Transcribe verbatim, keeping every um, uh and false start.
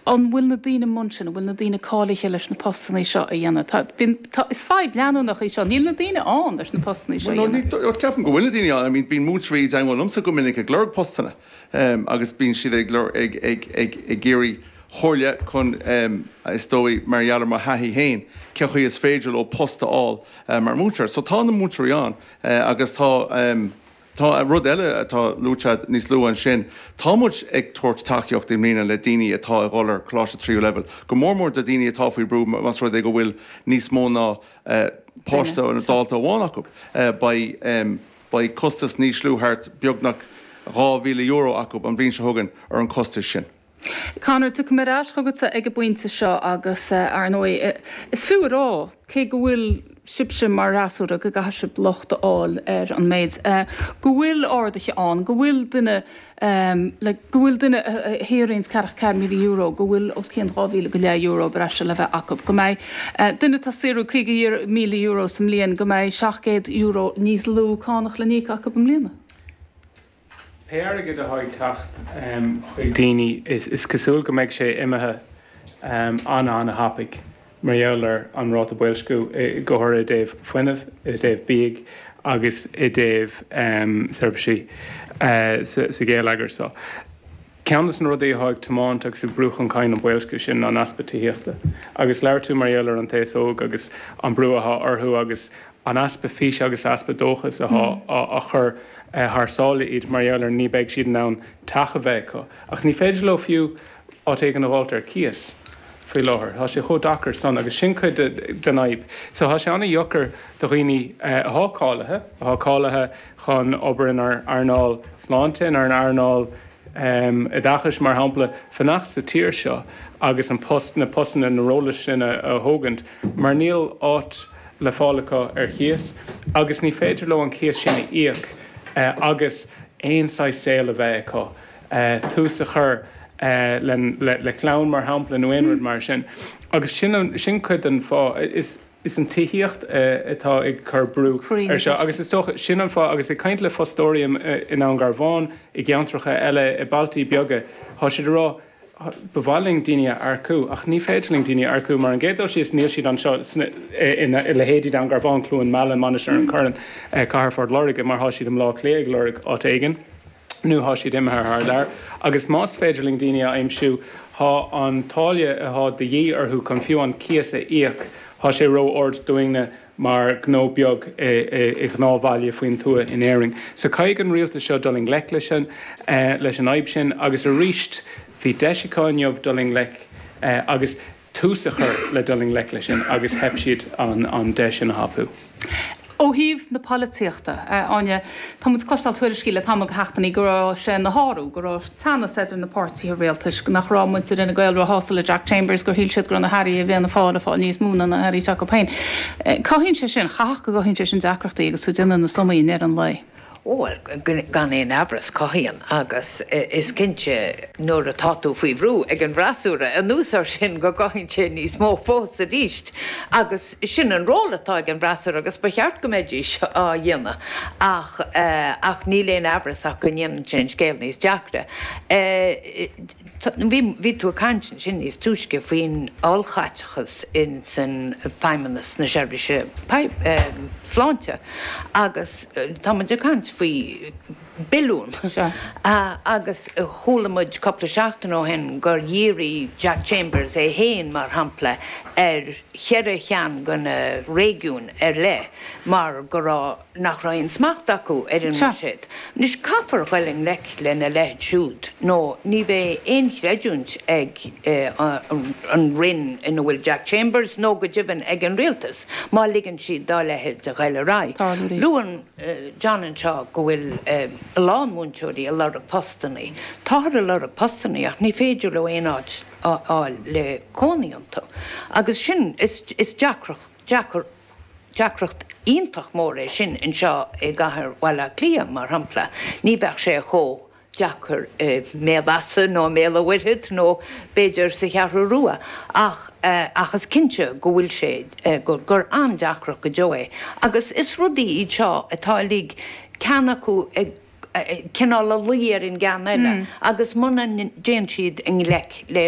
An bhfuil na daoine i mbun sin, an bhfuil na daoine cáilithe leis na postanna seo a dhéanamh? Tá, tá, is fadhb leanúnach í seo, níl na daoine ann leis na postanna seo a dhéanamh. Ceapaim go bhfuil na daoine ann, I mean, bíonn múinteoirí i dteagmháil liomsa go minic ag lorg postanna um, agus bíonn siad ag ag ag ag ag iarraidh comhairle chun um, is dóigh mar gheall ar mo thaithí féin cén chaoi is féidir leo post a fháil uh, mar mhúinteoir. So tá na múinteoirí ann uh, agus tá um, Tá rud eile atá luaite níos luaithe ansin, Tá muid ag tabhairt tacaíocht i mbliana le daoine atá ag dul ar choláiste tríú leibhéal. Go mór mór do daoine atá faoi brú más rud é go bhfuil níos mó ná uh, páiste nó dalta amháin acu. Uh, beidh um, beidh costas níos lú thart beagnach dhá mhíle euro acu an bhliain seo chugainn ar an costas sin. Conor tú mar ais chugatsa ag an bpointe seo agus uh, ar ndóigh is fiú rá cé go bhfuil sibhse mar fhreasúra go gcaithfidh sibh locht a fháil ar an méid. Uh, go bhfuil arduithe ann, go bhfuil duine um, le, go bhfuil duine héréon ceathracha ceathair míle euro, go bhfuil os cionn dhá mhíle go leith euro breise le bheith acu. Go mbeidh uh, duine atá ag saothrú caoga míle euro sa mbliain go mbeidh seacht gcéad euro níos lú cánach le n-íoc acu i mbliana. Pé airgead atá ag teacht chuig daoine is, is cosúil go mbeidh sé imithe um, an an-thapaidh mar gheall ar an ráta boilsciú go háirithe i dtaobh fuinnimh, i dtaobh bia agus i dtaobh um, seirbhísí uh, sa, sa gheilleagar so. Ceann de na rudaí atá ag tiomáint agus ag brú chun cinn an boilsciú sin an easpa tithíochta. Agus labhair tú mar gheall ar an t-aos óg agus an brú atá orthu agus an easpa físe agus easpa dóchas atá á chur thar sáile iad mar gheall ar ní bheidh siad in ann teach a bheith acu. Ach ní féidir leo fiú áit éigin a fháilt ar cíos faoi láthair. Tá sé chomh deacair san agus sin cuid den fhadhb. So tá sé an-deacair do dhaoine atá cáilithe, atá cáilithe chun obair in earnáil sláinte, in earnáil um, oideachais mar shampla fanacht sa tír seo agus an post na postanna na róil sin a, a thógaint, mar níl áit le fáil acu ar chíos, agus ní féidir leo an cíos sin a íoc uh, agus aon saghas saol a bheith acu. Uh, tús a chur uh, le, le, le clann mar shampla nó aon rud mar sin. Agus sin, sin cuid den fáth is is an tithíocht uh, atá ag cur brú ar seo agus is dócha sin an fáth agus ag caint le fostóirí i nDún Garbhán i gceantracha eile i bailte beaga Tá siad rá ba mhaith linn daoine a earcú ach ní féidir linn daoine a earcú mar an gcéad dul síos níl siad anseo i leithéidí Dún Garbhán Cluain Meala Mainistir an Choirn Cathair Phort Láirge mar tá siad i mBaile Átha Cliath ag lorg áit éigin. nó tá siad imithe thar lear, agus más féidir linn daoine a aimsiú tá an táille atá de dhíth orthu chun fiú an cíos a íoc tá sé ró-ard dúinne mar gnó beag i ngnáthbhaile faoin tuath in Éirinn. So caithfidh an rialtas seo dul i ngleic leis sin leis an fhadhb sin agus arís bhí deis acu inniu dul i ngleic agus tús a chur le dul i ngleic leis sin agus theip siad an, an deis sin a thapú. Ó thaobh na polaitíochta Áine tá muid ag cloisteáil tuairiscí le tamall seachtainí go raibh sé ina shárú, go raibh teannas idir na páirtithe rialtais, nach raibh muintir Fhine Gael róshásta le Jack Chambers gur shíl siad go raibh na hairí i bhFianna Fáil ag fáil níos mó ná na hairí s'acu féin. Cothaíonn sé sin chaithfeadh go gcothaíonn sé sin deacrachtaí agus tú ag déanamh na sumaí ar an lae. Bhuel gan aon amhras cothaíonn agus is cinnte nuair atá tú faoi bhrú ag an bhfreasúra anuas air sin go gcothaíonn sé níos mó fós arís agus sin an ról atá ag an bhfreasúra agus ba cheart go mbeidís á dhéanamh ach ach níl aon amhras ach go ndéanann sé an scéal níos deacra. Bhí tú ag caint ansin níos túisce faoin ollchaiteachas in san feidhmeannas na seirbhíse sláinte agus tá muid ag caint faoi billiún. Agus chuala muid cúpla seachtain ó shin gur dhírigh Jack Chambers é féin mar shampla ar cheithre cheann de na réigiúin ar leith mar go raibh nach raibh aon smacht acu ar an mbuiséad. Anois caithfear dul i ngleic lena leithéid siúd nó ní bheidh aon chreidiúint ag an roinn ina bhfuil Jack Chambers nó go deimhin ag an rialtas má ligeann siad dá leithéid a ghoil ar aghaidh. Luann John anseo go bhfuil a lán múinteoirí ag lorg postanna. Táthar ag lorg postanna ach ní féidir leo aon áit a fháil le cónaí iontu. Agus sin is, is deacracht, deacair, deacracht iontach mór é sin anseo i gcathair Bhaile Átha Cliath mar shampla. Ní bheadh sé chomh deacair i mBéal Feasa nó Béal an Mhuirthead nó b'fhéidir sa Cheathrú Rua ach ach is cinnte go bhfuil sé gur, gur an-deacracht go deo é. Agus is rudaí iad seo atá uilig ceann acu ag cineál ag luí ar an gceann eile agus muna ndéanann siad i ngleic le